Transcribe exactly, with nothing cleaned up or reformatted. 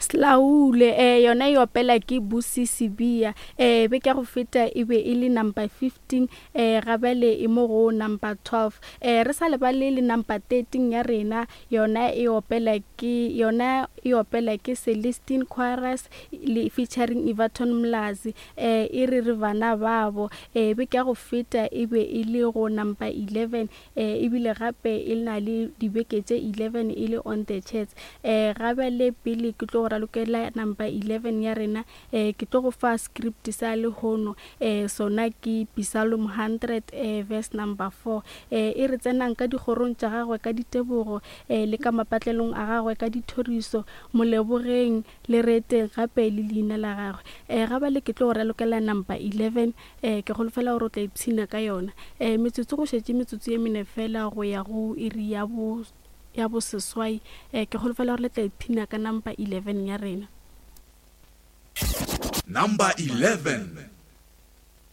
Slaule eh yona e opela ke Busi Sibiya. Eh beke ya go feta e be e le number fifteen, eh gabele e mo go number twelve. Eh re sa lebale le number thirteen ya rena, yona e opela ke yona e opela ke Celestine Chorus le featuring Everton Mlazi. Eh e re re bana babo. Eh beke ya go feta e be e le go number eleven, eh ebile gape e na le dibeke tše eleven e le on the charts. Eh gabele pele ke tlo go ralokela number eleven ya rena, eh ke tlo go fa script sa lehono. Eh sona ke Psalm hundred, eh verse number four. Eh e re tsenang ka dikgorong tša gagwe ka ditebogo, eh le ka mapatlelong a gagwe ka dithoriso, molebogeng le reteng gape le leina la gagwe. Eh gabele ke tlo go ralokela number eleven, eh ke holofela gore o tla ipshina ka yona. Eh metsotso go šetše metsotso ye mene fela go ya go iri ya bo ya boseswai. Eh ke holofela gore le tla ipshina ka number eleven ya rena. Number eleven.